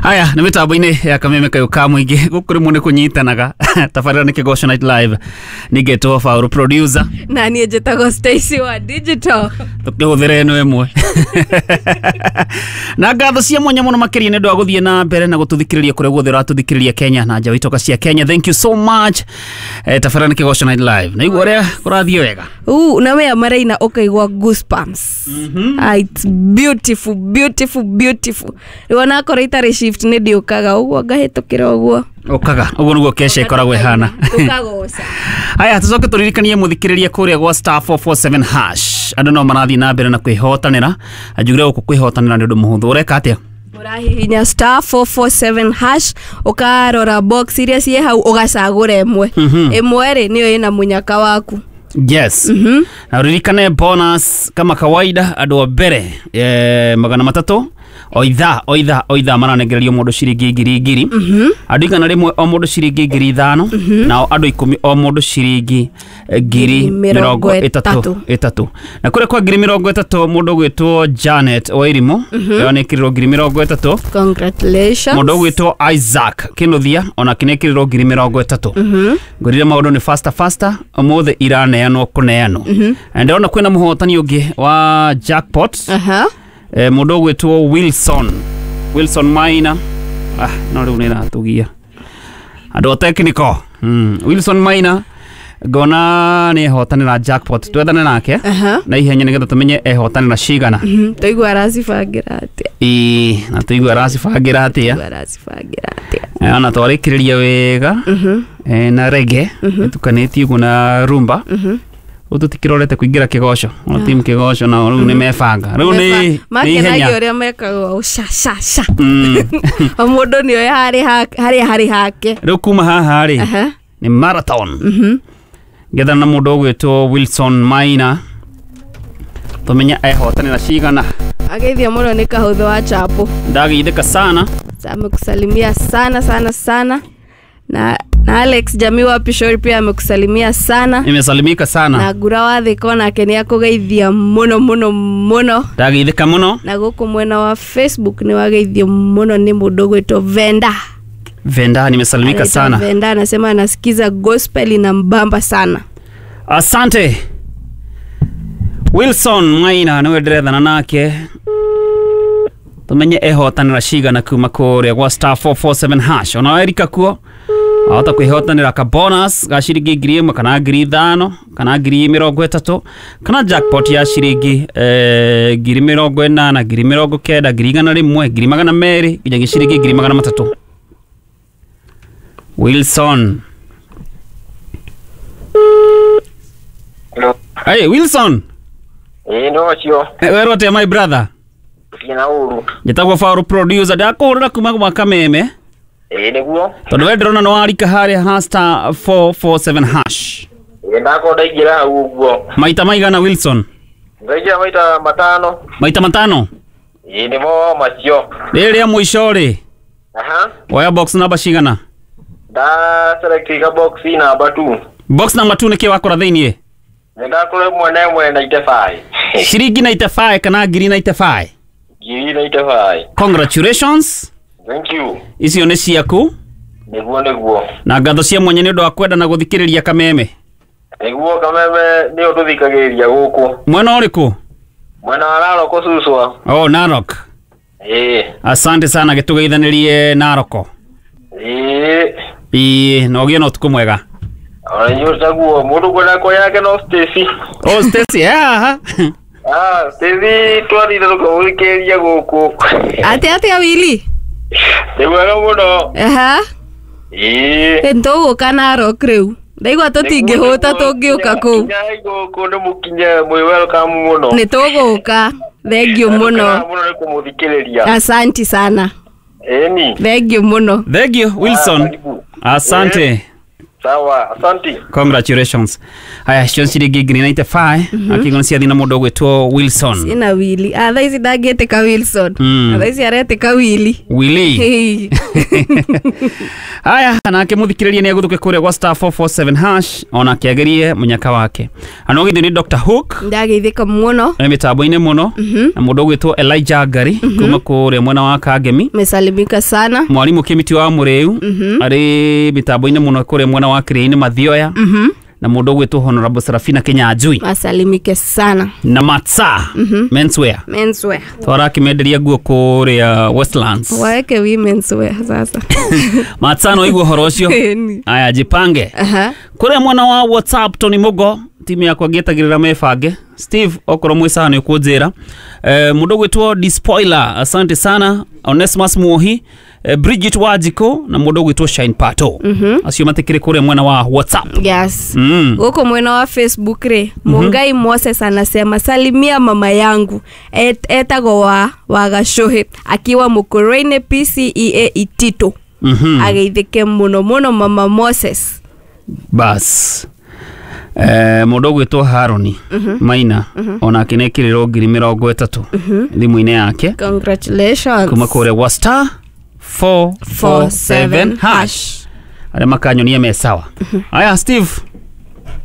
Aya nĩ mĩtambo-inĩ ya Kameme kayũ ka mũingĩ gũkũ rĩmwe nĩ kũnyitanaga. Tabarĩra nĩ Kĩgoco Night Live, ningĩtwo Faũrũ producer, na niĩ njĩtagwo Stacy wa digital. Tũkĩhũthĩra ĩno ĩmwe na ngatho cia mwanya mũno makĩria nĩ ũndũ wa gũthiĩ na mbere na gũtũthikĩrĩria kũrĩa guothe ũratũthikĩrĩria Kenya na nja wa itoka cia Kenya. Thank you so much. Tabarĩra nĩ Kĩgoco Night Live, naigua ũrĩa kũrathiĩ wega. Na wea maraina ũkaigua goosebumps. Ah, it's beautiful, beautiful, beautiful. Rĩu onakorwo itarĩ shift nĩ ndiũkaga ũguo ngahĩtũkĩra ũguo. Ũkaga ũguo nĩguo kesha ĩkoragwo ĩhana. Tũkagoca. Aya, tũcoke tũririkanie mũthikĩrĩria kũrĩa gwa star 447 hash andũ no marathiĩ na mbere na kwĩhotanĩra. Njugire gũkũ kwĩhotanĩra nĩ ũndũ mũhũthũ. Ũreka atĩa? Ũrahihinya star 447 hash, ũkarora box iria ciĩ hau, ũgacagũra ĩmwe. Ĩmwe rĩ nĩyo ĩna mũnyaka waku. Yes. Na uririkane bonus kama kawaida, andũ a mbere 300 o ithaa o ithaa o ithaa maranengererio mũndũ ciringi ngiri ngiri, andũ 100 o mũndũ ciringi 5,000, nao andũ 10 o mũndũ ciringi ngiri mĩrongo mĩrongo ĩtatũ ĩtatũ. Ĩtatũ. Na kũrĩa kwa 30,000 mũndũ ũgwĩtwo Janet Wairimu ĩyo nĩkĩrĩrwo 30,000. Congratulations. Mũndũ ũgwĩtwo Isaac Kinuthia onake nĩkĩrĩrwo 30,000. Ngwĩrire maũndũ nĩ faster faster, ũmũthĩ iraneanwo kũneanwo. Na ndĩrona kwĩna mũhotani ũngĩ wa jackpot. Aha. Mũndũ ũgwĩtwo Wilson Maina. Ah, no rĩu nĩ ĩratũgia andũ a technical. Wilson Maina ngona nĩ ehotanĩra jackpot, twethane nake Aha. na ihenya nĩgetha tũmenye ehotanĩra cigana. Tũigua aracibangĩra atĩa? Ĩĩ, na tũigue aracibangĩra atĩa. Tũigua aracibangĩra atĩa? Ona twarĩkĩrĩria wega na rege ĩtukanĩtie ũguo na rumba. Rĩu tũtikĩrorete kũingĩra kĩgoco, ona timu kĩgoco nao rĩu nĩ mebanga rĩu nĩ ihenya. Makenagia ũrĩa mekaga sha sha sha. O mũndũ nĩoĩ harĩa harĩ hake. Rĩu kuma haha rĩ Aha. nĩ marathon. Ngethana na mũndũ ũgwĩtwo Wilson Maina tũmenye ehotanĩra cigana. Ageithio mũno nĩ kahũthũ wa chapo. Ndageithĩka sana. Amekusalimia sana sana sana, na Alex Jamii wa Pishori pia amekusalimia sana. Nimesalimika sana. Na Ngura wa Thika onake nĩ akũgeithia mũno mũno mũno. Ndageithĩka mũno. Na gũkũ mwena wa Facebook nĩ wageithio mũno nĩ mũndũ ũgwĩtwo Venda. Venda, nimesalimika Anaitwa sana. Venda anasema anasikiza gospel ina mbamba sana. Asante. Wilson Maina niwe ndĩrethana nake tumenye ehotanĩra cigana kuma kũrĩa gwa star 447 hash. Ona werika kuo ahota kwĩhotanĩra ka bonus ga ciringi 1,000 kana 5,000 kana 30,000 kana jackpot ya ciringi 80,000, 90,000, 100,000, 200,000 nginyagia ciringi 300,000. Wilson. Hello. Hey, Wilson. Ĩĩ no ũcio. Werwo atĩa my brother? Gũtirĩ ũru. Njĩtagwo Faũrũ producer, ndakũhũrĩra kuma gwa Kameme. Ĩĩ nĩguo. Tondũ we ndĩrona nĩ warika harĩa ha star 447 hash. Ĩĩ ndakorwo ndaingĩra hau ũguo. Maita maigana Wilson? Ndaingĩra maita matano. Maita matano? Ĩĩ nĩmo macio. Rĩrĩ rĩa mũico rĩ, Aha. woya box namba cigana? Nda select ka box namba 2. Box namba 2 nĩkĩ wakora thĩiniĩ? Nĩ ndakora ĩmwe na ĩmwe 95. Ciringi 95 kana ngiri 95? Ngiri 95. Congratulations. Thank you. Icio nĩ ciaku. Nĩguo nĩguo. Na ngatho cia mwanya nĩ ũndũ wa kwenda na gũthikĩrĩria Kameme. Nĩguo Kameme nĩyo tũthikagĩrĩria gũkũ. Mwena ũrĩkũ? Mwena wa Narok Suswa. Oh, Narok. Ĩĩ. Asante sana, gĩtũgeithanĩrie Naroko. Ĩĩ. Ĩĩ, na ũgĩe na ũtukũ mwega. Ona inyuĩ taguo mũndũ kwenda kwa yake no Stacy. Oh, Stacy, haha. Ah, Stacy twathire tũkamũthikĩrĩria gũkũ. Atĩa atĩa Willy? Nĩ mwega mũno. Aha. Ĩĩ. Nĩtũgũka Narok rĩu. Ndaigua tũtingĩhũta tũngĩũka kũu. Kinyai gũkũ nĩ mũkinye mwĩ welcome mũno. Nĩtũgũka. Thank you mũno. Mũno nĩ kũmũthikĩrĩria. Asanti sana. Ĩni. Thank you mũno. Thank you Wilson. Karibu. Asante. Sawa, asante. Congratulations. Haya, cio ciringi 95 akigona ciathi na mundu ugwitwo Wilson. Ina Willy. Ah, thaa ici ndangĩtĩka Wilson. Thaa ici aretĩka Willy. Willy. Hey. Haya, nake muthikiriria ni aguthuke kuria gwa star 447 hash ona akiagerie munyaka wake. Anogithio ni Dr Hook Ndageithĩka mũno. e mitambo-inĩ mũno na mũndũ ũgwĩtwo Elijah Ngari kuma kũrĩa mwena wa Kangemi. Mesalimika sana. Mwarimũ Kĩmiti wa Mũrĩu arĩ mitambo-inĩ mũno kũrĩa mwena wa Kĩrĩinĩ Mathioya na mũndũ ũgwĩtwo Honorable Serafina Kinyanjui Masalimike sana. na Matsa menswear Menswear. twarakĩmenderia nguo kũrĩa Westlands. Waeke womenswear sasa. Matsa no igua ũhoro ũcio. Ĩni. Aya, jipange. Aha. Kũrĩa mwena wa WhatsApp Tony Mugo timu yakwa ngĩetagĩrĩra mebange. Steve okorwo mwĩ sawa nĩ ũkũnjĩra. Mũndũ ũgwĩtwo Despoiler, asante sana. Onesmus Muohi, Bridget Wajiko na mũndũ ũgwĩtwo Shine Pato. Acio matikĩrĩ kũrĩa mwena wa WhatsApp. Yes. Huko mwena wa Facebook rĩ, Mungai Moses anasema salimia mama yangu etagwo wa Wagacuhi akiwa Mukurweini PCEA Itito. Ageithĩke mũno mũno mama Moses. Bas. Mũndũ ũgwĩtwo Haroni Maina onake nĩekĩrĩrwo 30,000 thimũ-inĩ yake Congratulations. kuma kũrĩa gwa star 447 hash arĩa makanyonia me sawa. Aya, Steve.